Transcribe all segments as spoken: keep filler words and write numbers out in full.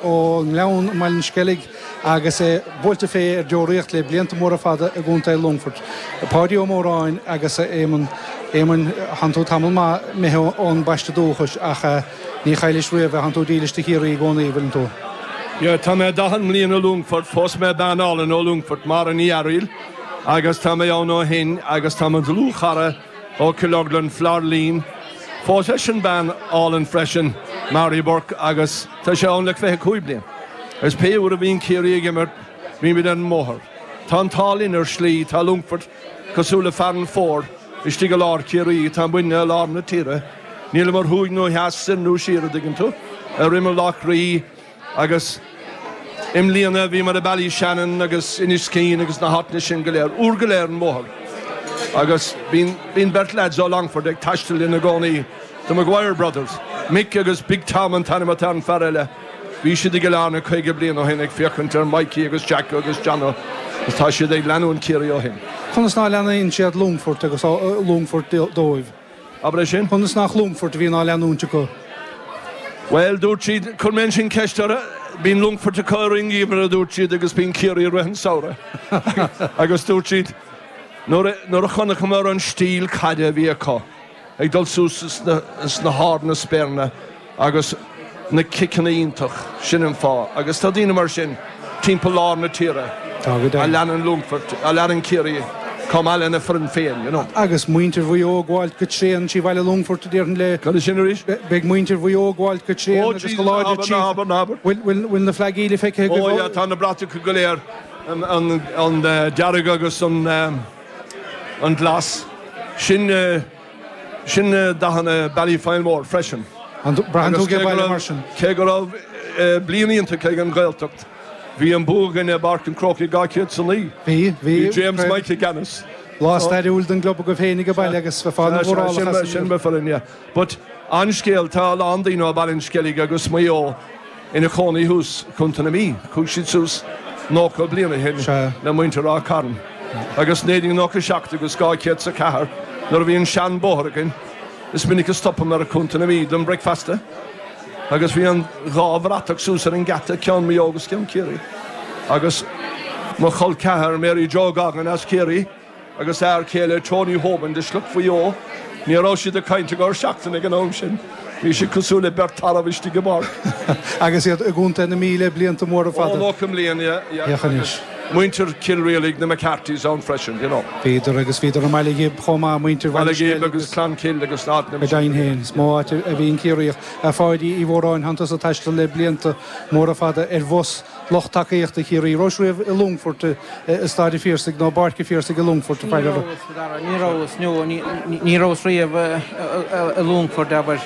Ón nGleann i mBaile an Sceilg agus é buailte fé ar deoraíocht le blianta móra fada i gContae Longfoirt. Páidí Ó Móráin agus Éamonn, Éamoinn, thánn tú tamall maith imithe ón bpaiste dúchais ach ní chaillis riamh é, thánn tú dílis do Chiarraí i gcónaí, bhfuileann tú? Yeah, tá mé daichead mbliana i Longfort, phós mé bean álainn ó Longfort, Máire Ní Fhearaíl, agus tá mé ann ó shin agus tá mo dhlúthchara ó Cill Orglan, Florlene, phós eisean bean álainn freisin, Mary Burke, agus tá sé ann le fiche cúig bliain. Agus pé uair a bhíonn Ciarraí ag imirt, bímid ar an mbóthar. Tá an t-ádh linn ar shlí, tá Longfort cosúil le fear an fómhair istigh i lár Chiarraí, tá muidne i lár na tíre, níleamar thuaidh nó theas, soir nó siar, a dtuigeann tú, ar imeall Loch Rí, Agus i mbliana bhíomar i Ballyshannon agus Inis Caoin agus na háiteanna sin go léir, uair go leith ar an mbóthar. Agus bíonn, bíonn beirt leaids ó Longfort ag taisteal linn i gcónaí, The Maguire Brothers, Mick agus Big Tom an t-ainm atá ar an fear eile. Bhí siad i gCill Airne caoga bliain ó shin ag féachaint ar Mikey agus Jack agus Jono agus tá siad ag leanúint Ciarraí ó shin. Conas ná leanann siad Longfort agus Longfort dóibh? Abair é sin. Conas nach Longfort a bhíonn á leanúint acu? Bhuel, dúirt siad, chuir mé ansin ceist orthu, bíonn Longfort acu i rith an gheimhridh, a dúirt siad, agus bíonn Ciarraí i rith an samhraidh. Agus dúirt siad, nuair a, nuair a chonaiceamar an stíl caide a bhí acu, ag dul suas sna, sna hard na spéireanna agus na ciceanna iontach, sin an fáth. Agus tá daoine mar sin timpeall lár na tíre a leanann Longfort, a leanann Ciarraí chomh maith lena foireann féin, you know. Agus muintir Mhaigh Eo ag gabháilt go tréan trí bhaile Longfoirt, a déarfainn le. Cad é sin arís? Beidh muintir Mhaigh Eo ag gabháilt go tréan Oh agus Jesus, go láidir ná trí. habair, ná habair. Bhfuil, bhfuil, bhfuil na flaigí le feicthe agaibh? Oh yeah, tá na bratacha go léir, an, an, an dearg agus an, an glas. Sin. Sin dathanna Ballyfilemore freisin. Braitheann tú ag baile mar sin. Cé go raibh bliain iontach ag an Ghaeltacht, bhí an bua againn i bPáirc an Chrócaigh dhá chéad is a naoi. Bhí, bhí. Bhí James Mike i gceannas. Lá stairiúil don gclub agaibh féin ag baile agus bheifeá ana mhórálach as. Sin mo foireann, yeah. But an-scéal, tá a lán daoine ó Bhaile an Sceilg agus Maigh Eo ina chónaí thuas i Contae na Mí. Chuaigh siad suas nócha bliain ó shin le muintir Ráth Cairn. Agus naoi déag nócha seacht agus dhá chéad is a ceathair nuair a bhí an sean bóthar againn is minic a stopamar i Contae na Mí don bricfeasta agus bhí an dhá bhratach suas ar an geata, ceann Maigh Eo agus ceann Ciarraí. Agus mo chol ceathar Mary Joe Goggin as Ciarraí, Agus a fhear céile Tony Hoban de shliocht Mhaigh Eo, ní raibh siad ag caint i gcomhair seachtaine ag an am sin. Bhí siad cosúil le beirt tarbh istigh i bpáirc. Agus iad i gContae na Mí le blianta móra fada. Ó, nócha mbliain, yeah, yeah. Féach anois. Muintir Chill Rialaigh, na McCarthys ann freisin, you know. Bhíodar agus bhíodar i mBaile Ghib chomh maith, muintir Bhaile Baile Ghib Sceilg agus Clonkill agus na háiteanna Go deimhin féin, is mó áit a bhíonn Ciarraíoch. A Pháidí Uí Mhóráin, thánn tusa ag taisteal le blianta móra fada ar bhus. Lucht tacaíochta Chiarraí. Rabhais riamh i Longfort i Staid an Phiarsaigh nó i bPáirc an Phiarsaigh i Longfort, a Ní Pháidí? rabhas, a Dhara, ní rabhas, no, ní rabhas riamh i Longfort, abair.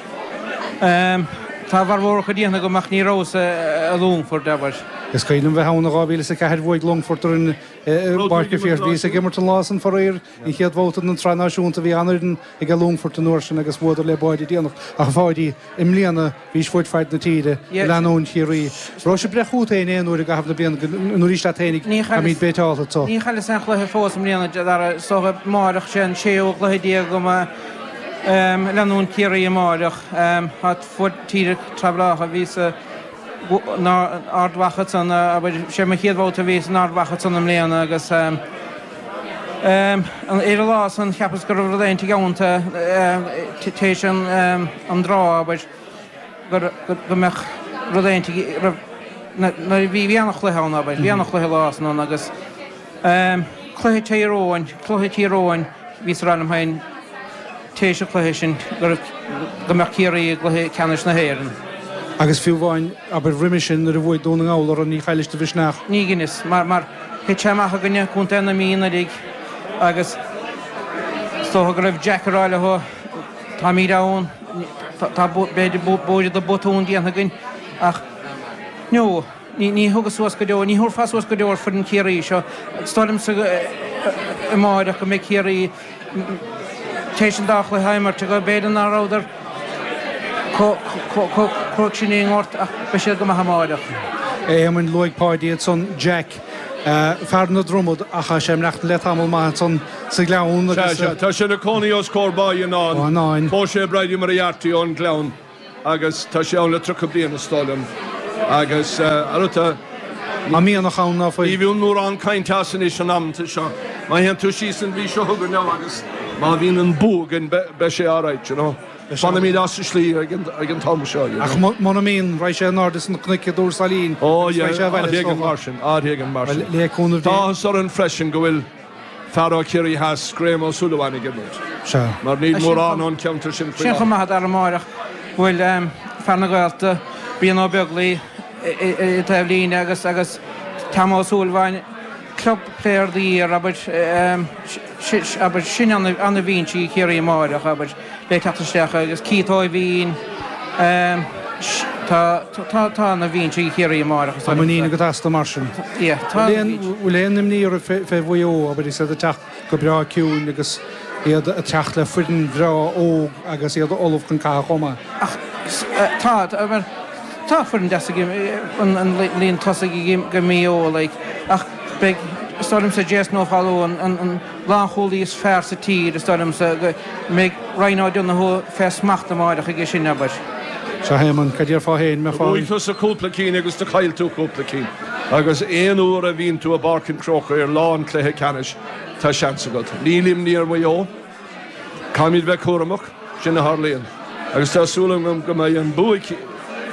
Tá a bhformhór acu déanta agam ach ní rabhas i Longfort, abair. Is cuimhin liom bheith ann i dhá mhíle is a ceathair, bhuaigh Longfort orainn i bPáirc an Phiarsaigh. Bhíos ag imirt an lá san faraor, an chéad bhabhta den tSraith Náisiúnta, bhí an-fhoireann ag Longfort an uair sin agus bhuadar le báide déanach. Ach a Pháidí, i mbliana, Bhís fud fad na tíre ag leanúint Chiarraí. Raibh sé ag breith chugat féin aon uair i gcaitheamh na bliana nó arís leat féinig táimid béiteálta anso. Ní chailleas aon chluiche fós i mbliana, a Dhara. Is dócha amáireach, sé an séú cluiche déag agam ag leanúint Ciarraí amáireach. Tá fud tíre traibhleáilte. Bhíos in Ard Mhacha ansan, abair, sé mo chéad bhabhta a bhíos in Ard Mhacha ansan i mbliana agus ar an lá san cheapas go raibh rud éigin geallta téis an draw, abair. gur go mbeadh rud éigin raibh nuair a bhí bhí an-chluiche ann abair bhí an-chluiche lá san ann agus cluiche Tír Eoghain cluiche Tír Eoghain bhíos ag rá liom féin téis an chluiche sin go raibh go mbeadh Ciarraí i gcluiche ceannais na hÉireann. Agus fiú amháin abair roimhe sin nuair a bhuaigh Dún na nGall orthu ní chaillis do mhisneach. Ní dheineas mar mar thit sé amach i gcoinne Contae na Mí anuraidh agus is dócha go raibh Jack ag rá leo Táimid ann, tá b'fhéidir b'fhéidir do botún déanta againn ach no, ní thugas suas go deo, ní thabharfá suas go deo ar foireann Chiarraí seo. Is dóigh liomsa amáireach go mbeidh Ciarraí tar éis an dá chluiche a imirt acu, b'fhéidir ná rabhadar chomh cruaidh sin i ngort ach beidh siad go maith amáireach. A Éamoinn, luaigh Páidí ansan Jack, fear na dromad ach tá sé ag maireachtaint le tamall maith ansan sa Ghleann agus. Sea, sea, tá sé ina chónaí os comhair Bá Fhionáin. Fhionáin. Phós sé Bridie Moriarty ón Ghleann agus tá sé ann le tríocha bliain is dóigh liom. Agus arúta Tá mianach ann ná fuil. Ní bhíonn mórán cainte as anois an amanta seo. Má théann tú síos an mhí seo chugainn now agus má bhíonn an bua againn beidh sé alright, you know. Fanfaimid as an slí ag an t-am seo, you know. Ach muna mbíonn, raghaidh sé in airde sna cnoic i dTuar Sailín agus raghaidh sé abhaile is dócha. Mar sin, áit éigin mar sin. Le cúnamh Dé. Tá áthas orainn freisin go bhfuil fear ó Chiarraí Theas, Graham Ó Súilleabháin ag imirt. Sea. Mar níl mórán ón cheantar sin faoi Sin chomh maith a Dara amárach go bhfuil fear na Gaeltachta, Brian Ó Beaglaoi, i dtaobh líne agus agus Tom Ó Súilleabháin, Club Player of the Year, abair, abair, sin ana-bhinse ag Ciarraí amáireach, abair, le teacht isteach agus Keith Ó hEimhín, tá, tá, tá ana-bhinse ag Ciarraí amáireach is dóigh liomsa. Tá muinín agat astu mar sin. Yeah, tá ana-bhinse. Bhfuil aon imní oraibh fé Mhaigh Eo, abair, is iad ag teacht go breá ciúin agus iad ag teacht le foireann bhreá óg agus iad ullamh chun catha chomh maith? Ach tá, tá, Tá foireann deas ag an líon tosaigh ag Maigh Eo like ach beidh, is dóigh liomsa, Jason Ó Foghlú an lánchúlaí is fearr sa tír, is dóigh liomsa, go mbeidh Ryan O'Donoghue fé smacht amáireach aige sin, abair. Sea, a Éamoinn, cad déarfá féin, mbeifeá. Bhuaigh tusa cúpla cinn agus do chaill tú cúpla cinn agus aon uair a bhíonn tú i bPáirc an Chrócaigh ar lá an chluiche ceannais tá seans agat. Níl imní ar Mhaigh Eo. Caithfimid bheith cúramach, sin a tharlaíonn agus tá súil agam go mbeidh an bua ag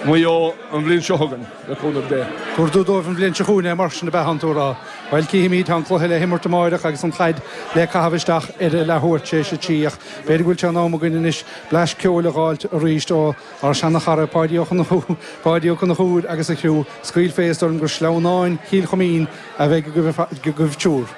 Maigh Eo an bhliain seo chugainn, le cúnamh Dé. Tabhair tú dóibh an bhliain seo chugainn é mar sin ab ea tánn tú a rá. Bhuel, cífimid, tá an cluiche le himirt amáireach agus an chaid le caitheamh isteach ar a leathuair tar éis a trí ach b'fhéidir go bhfuil sé in am againn anois blais ceoil a dh'fháilt arís ó ár seana-chara Páidí Ó Conchúir, Páidí Ó Conchúir agus a chriú. Scaoil fé, is dóigh liom gur Sleamhnáin Chill Choimín a bheidh agaibh triúr.